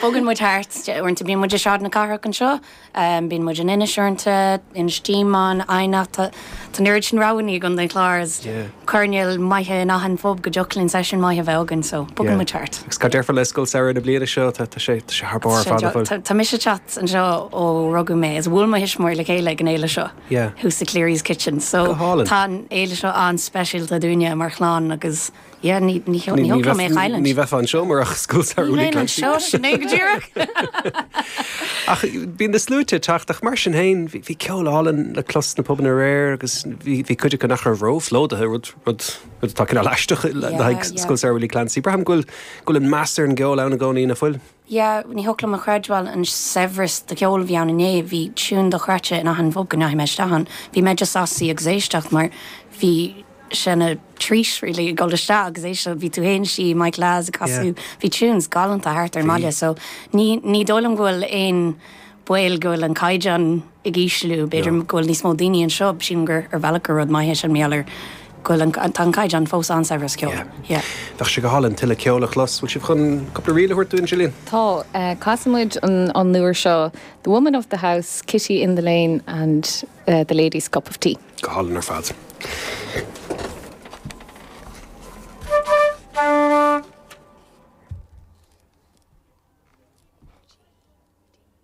Bogann muid thart, uaireanta bíonn muid i Sráid na Cathrach anseo, bíonn muid in Inis uaireanta, Inis Díomáin, Eidhneach, tá an oiread sin roghanna i gContae an Chláir is coirnéal maithe in achan phub go dtiocfadh linn seisiún maith a bheith againn, so bogann muid thart. Agus cad déarfá le Scoil Samhraidh na bliana seo, tá sé thar barr ar fad, an bhfuil? Tá mise ag teacht anseo ó rugadh mé, is bhuail mo thuismitheoirí le chéile ag an fhéile seo, thuas i Cleary's Kitchen, so tá an fhéile seo an-speisialta dúinne mar chlann agus Yeah, ní ní ní thiocfadh liom é a chailliúint. Ní bheifeá anseo murach Scoil Samhraidh Willie Ní bheinn Clancy. anseo, sin é go díreach. Ach bíonn na sluaite ag teacht ach mar sin féin bhí bhí ceol álainn le clos sna pubanna aréir agus bhí bhí cuid acu nach raibh róphlódaithe, rud rud rud atá cineál aisteach le Yeah, haghaidh yeah. Scoil Samhraidh Willie Clancy. Braithim go bhfuil go bhfuil an meas ar an gceol ann i gcónaí, nach bhfuil? Yeah, ní thiocfadh liom a chreidbheáil an saibhreas de cheol a bhí ann inné, bhí tiún dochreidte in achan phub go ndeachaigh mé isteach ann. Bhí mé just sásta suí agus éisteacht mar bhí sé ina treat really ag dul isteach agus éisteacht, bhí tú féin istigh, Mike Laz ag casadh, bhí tunes galánta thart ar an mbaile so ní ní dóigh liom go bhfuil aon baol go bhfuil an caighdeán ag ísliú, b'fhéidir go bhfuil níos mó daoine anseo, sílim gur ar bhealach gur rud maith é sin mar gheall ar go bhfuil an tá an caighdeán fós an-saibhir sa cheol. Yeah. Bheadh sé go hálainn tuilleadh ceoil a chlos. Bhfuil sibh chun cúpla ríl a thabhairt dúinn, Gillian? Tá. Casfaidh muid an an uair seo The Woman of the House, Kitty in the Lane and The Lady's Cup of Tea. Go hálainn ar fad.